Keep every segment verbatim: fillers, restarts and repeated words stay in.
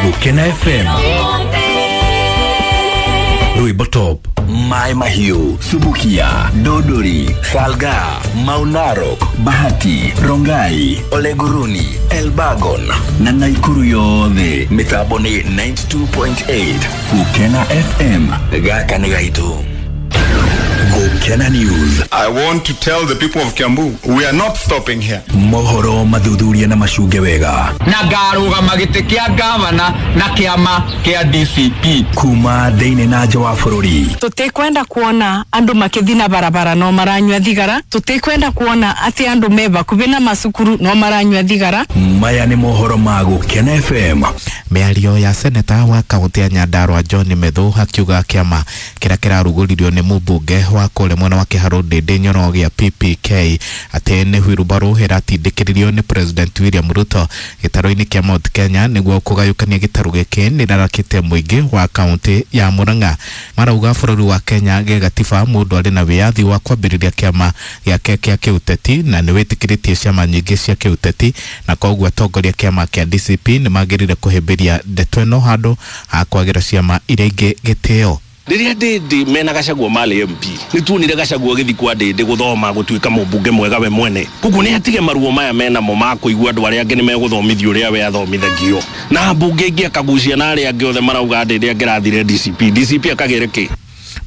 Gukena F M Rwimbo Top, Mai Mahiu, Subukia, Dodori, Salga, Maunarok, Bahati, Rongai, Oleguruni, Elbagon na Naikuru yothe. Mitambo ni ninety-two point eight Gukena F M. Gaka ni gaitu. Gukena News. I want to tell the people of Kiambu, we are not stopping here. Mohoro mathuthuria na macunge wega. Na ngarũgama gĩtĩ kĩa gavana na kĩama kĩa D C P. Kuma thĩinĩ na nja wa bũrũri. Tũtikwenda kuona andũ makĩthi na barabara no maranyua thigara. Tũtikwenda kuona atĩ andũ me bakubi na macukuru no maranyua thigara. Maya nĩ mohoro ma Gukena F M. Mĩario ya seneta wa kaunti ya Nyandarua John Methu akiuga kĩama kĩrĩa kĩrarugũririo nĩ mũmbunge wa kũrĩa mwena wa Kĩharũ Ndĩndĩ Nyoro gĩa P P K atĩ nĩ hwirumbarũ ĩratindĩkĩrĩrio nĩ President William Ruto gĩtarũ-inĩ kĩa Mount Kenya nĩguo kũgayũkania gĩtarũ gĩkĩ nĩrarakĩte mũingĩ wa kaunti ya Murang'a. Marauga bũrũri wa Kenya gĩgatiba mũndũ arĩ na wĩyathi wa kwambĩrĩria kĩama gĩake kĩa kĩũteti na nĩ wĩtĩkĩrĩtie ciama nyingĩ cia kĩũteti, na koguo atongoria kĩama kĩa D C P nĩ magĩrĩire kũhĩmbĩria ndeto ĩno handũ ha kwagĩra ciama iria ingĩ gĩtĩo. Rĩrĩa Ndĩndĩ mena Gachagua marĩ M P, nĩ tuonire Gachagua agĩthiĩ kwa Ndĩndĩ gũthoma gũtuĩka mũmbunge mwega we mwene. Koguo nĩ atige maruo maya menamo ma kũigua andũ arĩa angĩ nĩ megũthomithio ũrĩa we athomithagio. Na mbunge ingĩ akagucia na arĩa angĩ othe marauga Ndĩndĩ angĩrathire D C P, D C P akagĩre kĩ?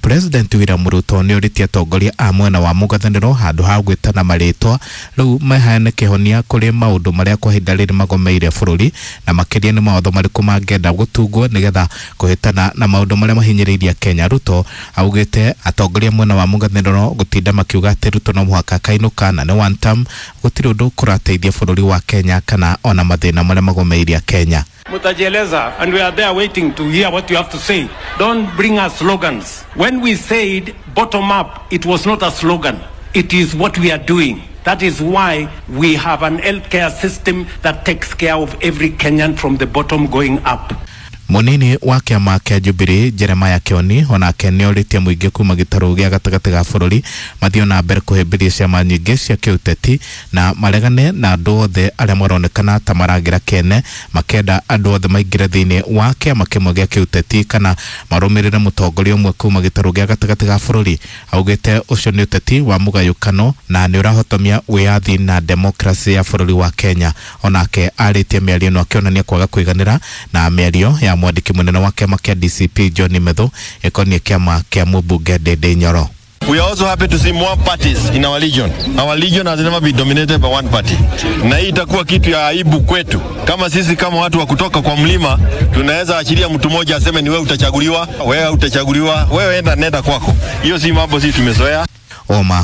President William Ruto nĩ orĩtie atongoria a mwena wa mũng'ethanĩro handũ ha gwĩtana marĩtwa rĩu maheane kĩhonia kũrĩ maũndũ marĩa kwa ihinda rĩrĩ magomeire bũrũri, na makĩria nĩ mawatho marĩkũ mangĩenda gũtungwo nĩgetha kũhĩtana na maũndũ marĩa mahinyĩrĩirie Kenya. Ruto augĩte atongoria mwena wa mũng'ethanĩro gũtinda makiuga atĩ Ruto no mũhaka akainũka na nĩ one term, gũtirĩ ũndũ kũrateithia bũrũri wa Kenya kana ona mathĩna marĩa magomeirie Kenya. Mutajieleza, and we are there waiting to hear what you have to say. Don't bring us slogans. When we said bottom up, it was not a slogan. It is what we are doing. That is why we have an healthcare system that takes care of every Kenyan from the bottom going up. Munini wa kĩama kĩa Jubilee Jeremiah Kioni onake nĩorĩtie mũingĩ kuma gĩtarũ gĩa gatagatĩ ga bũrũri mathiĩ na mbere kũhĩmbĩria ciama nyingĩ cia kĩũteti na maregane na andũ othe arĩa maronekana ta maragĩra kene makenda andũ othe maingĩre thĩinĩ wa kĩama kĩmwe gĩa kĩũteti kana marũmĩrĩre mũtongoria ũmwe kuma gĩtarũ gĩa gatagatĩ ga bũrũri. Augĩte ũcio nĩ ũteti wa mũgayũkano na nĩ ũrahotomia wĩyathi na demokrasi ya bũrũri wa Kenya. Onake arĩtie mĩario ĩno akĩonania kwaga kũiganĩra na mĩario ya mwandĩki mũnene wa kĩama kĩa D C P John Methu ĩkoniĩ kĩama kĩa mũmbunge Ndĩndĩ Nyoro. We are also happy to see more parties in our region. Our region has never been dominated by one party. Na hii itakuwa kitu ya aibu kwetu. Kama sisi kama watu wa kutoka kwa mlima, tunaweza achilia mtu mmoja aseme ni wewe utachaguliwa, wewe utachaguliwa, wewe enda nenda kwako. Hiyo si mambo sisi tumezoea. Oma